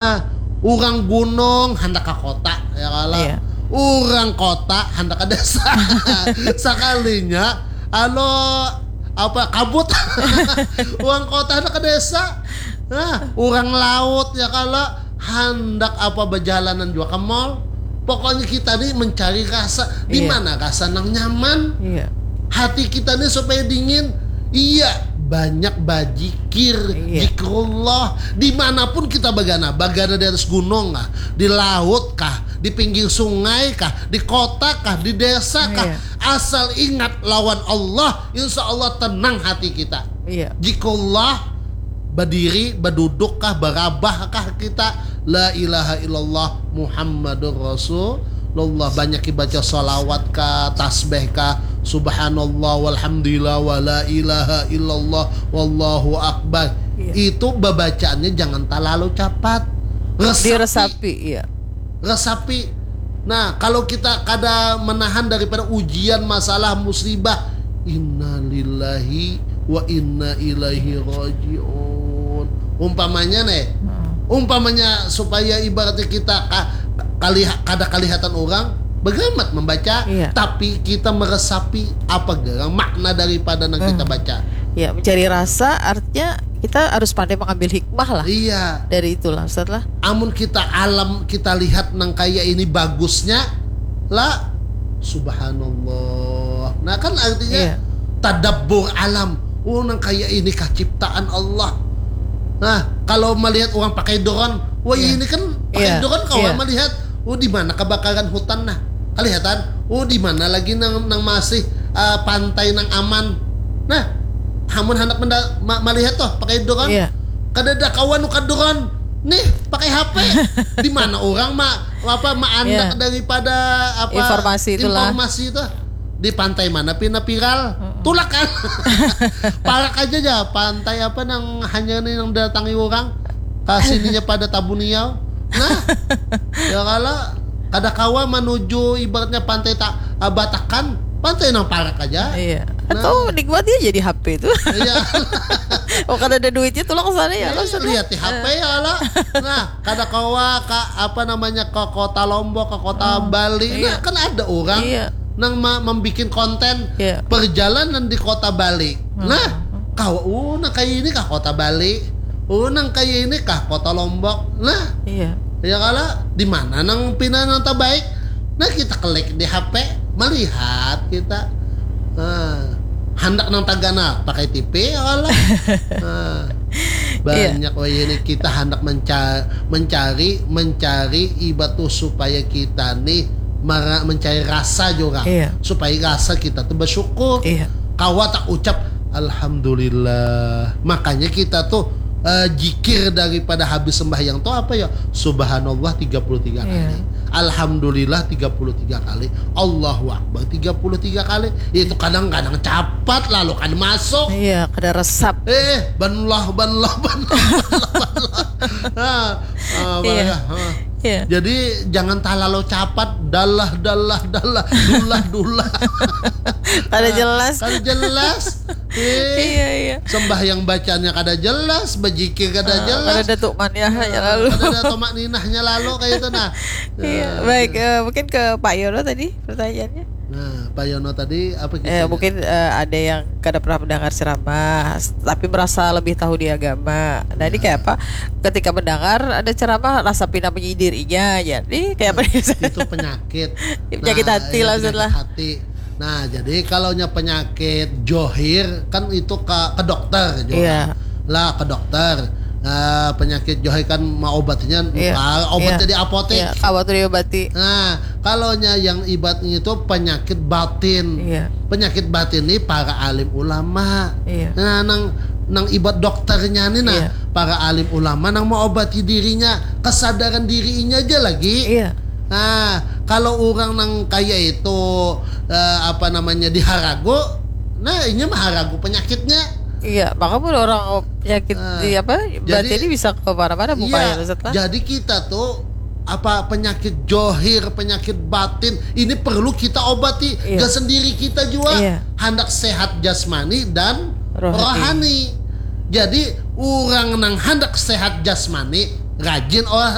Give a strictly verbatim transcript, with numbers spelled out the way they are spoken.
Nah, urang gunung handak ka kota, ya kalo. Iya. Urang kota handak ka desa. Sakalinya, alo, apa, kabut. Urang kota handak ka desa. Nah, urang laut, ya kalo, handak apa, bajalanan jua ka mall. Pokoknya kita ni mencari rasa. Di Iya. mana rasa nang nyaman? Iya. Hati kita ni supaya dingin. Iya, banyak bajikir, Iya. zikrullah. Dimanapun kita bagana, bagana di atas gunung kah, di laut kah, di pinggir sungai kah, di kota kah, di desa kah. Iya. Asal ingat lawan Allah, insya Allah tenang hati kita. Iya. Zikrullah, badiri, baduduk kah, barabah kah kita, la ilaha illallah Muhammadur Rasulullah. Banyak baca salawat kah, tasbih kah, subhanallah, walhamdulillah, wala ilaha illallah, wallahu akbar. Iya. Itu babacaannya jangan talalu capat. Resapi. Diresapi, iya. Resapi. Nah, kalau kita kada menahan daripada ujian, masalah, musibah, innalillahi wa inna ilaihi rajiun. Umpamanya nih, Hmm. umpamanya supaya ibaratnya kita ka-, kaliha-, kada kalihatan orang, bagamat membaca, Iya. tapi kita meresapi apa garang makna daripada yang kita Hmm. baca. Ya, mencari rasa artinya kita harus pandai mengambil hikmah lah Iya. dari itulah, Ustaz lah. Amun kita alam, kita lihat nang kaya ini bagusnya, lah, subhanallah. Nah, kan artinya Iya. tadabbur alam. Oh, nang kaya ini kah ciptaan Allah. Nah, kalau melihat orang pakai drone, wah, Iya. ini kan pakai Iya. drone kawa Iya. melihat, oh, di mana kebakaran hutan, nah. Kelihatan, oh, di mana lagi nang, nang masih, ah, pantai nang aman. Nah, hamun handak menda-, ma-, melihat tuh pakai drone. Iya. Kadada kawa nukar drone. Nih, pakai H P. Di mana orang ma-, apa, maandak Iya. daripada apa, Informasi itulah. informasi itu? Di pantai mana pina viral? Mm-mm. Tulak kan? Parak aja ja, pantai apa nang hanya nih yang datangi orang. Kasininya pada Tabuniau. Nah, ya kalo kada kawa menuju ibaratnya pantai ta-, ah, Batakan, pantai nang parak aja. Iya. Nah. Atau nikmati aja di H P itu. Iya. Oh, kada ada duitnya, tulak ke sana ya, Iya, langsung. lihat di H P ya lah. Nah, kada kawa ka, apa namanya, ke kota Lombok, ke kota Hmm, Bali. Nah, iya. kan ada orang Iya. nang ma-, membikin konten Iya. perjalanan di kota Bali. Hmm. Nah, kawa, oh, nang kaya ini kah kota Bali? Oh, nang kaya ini kah kota Lombok? Nah, Iya. ya kalo, di mana nang pina nang terbaik? Nah, kita klik di H P, melihat kita. Nah, handak nang tagana pakai T V ya kalo. Nah, Iya. banyak wayah ini kita handak menca-, mencari, mencari ibat tuh supaya kita nih mara-, mencari rasa juga. Iya. Supaya rasa kita tuh bersyukur. Iya. Kawa tak ucap, "Alhamdulillah." Makanya kita tuh, eh, jikir daripada habis sembahyang tuh apa ya? Subhanallah tiga puluh tiga Iya. kali. Alhamdulillah tiga puluh tiga kali. Allahu Akbar tiga puluh tiga kali. Itu kadang-kadang capat lalu kan masuk. Iya, kada resap. Eh, banlah, banlah, banlah, banlah, banlah. Nah, ah, Iya. banlah, ah. Iya. Jadi jangan talalu capat, dalah, dalah, dalah, dulah, dulah. Kada Ah, jelas. kada jelas. Eh, Iya, iya. sembahyang bacanya kada jelas, bejikir kada Ah, jelas. kada ada tumakninahnya Ah, lalu. kada ada tumakninahnya lalu kayak itu, nah. Iya, Nah, baik, iya. eh, mungkin ke Pak Yono tadi pertanyaannya. Nah, Pak Yono tadi apa Eh, kisahnya? mungkin, eh, ada yang kada pernah mendengar ceramah, s-, tapi merasa lebih tahu di agama. Nah, ini Ya. kayak apa? Ketika mendengar ada ceramah, rasa pina menyindir inya aja. Ini kayak apa nih? Itu penyakit. Penyakit Nah, hati ya, lah, penyakit Ustaz lah. hati. Nah, jadi kalau nya penyakit johir kan itu ke, ke dokter juga. Iya. Lah, ke dokter. Nah, penyakit johir kan mau obatnya Iya. nukar, obat Iya. jadi apotek. Iya, kawa tuh diobati. Nah, kalau nya yang ibatnya itu penyakit batin. Iya. Penyakit batin ni para alim ulama. Iya. Nah, nang, nang ibat dokternya ni nah, Iya. para alim ulama nang mau obati dirinya, kesadaran dirinya aja lagi. Iya. Nah, kalau orang nang kaya itu, eh, apa namanya, diharagu, nah, inya maharagu penyakitnya. Iya, maka pun orang penyakit Nah, di apa, jadi, berarti ini bisa ke mana-mana bukannya, iya, Ustaz lah? jadi kita tuh, apa, penyakit johir, penyakit batin, ini perlu kita obati. Iya. Gak sendiri kita juga. Iya. Handak sehat jasmani dan Rohani. rohani. Jadi, orang nang handak sehat jasmani, rajin olah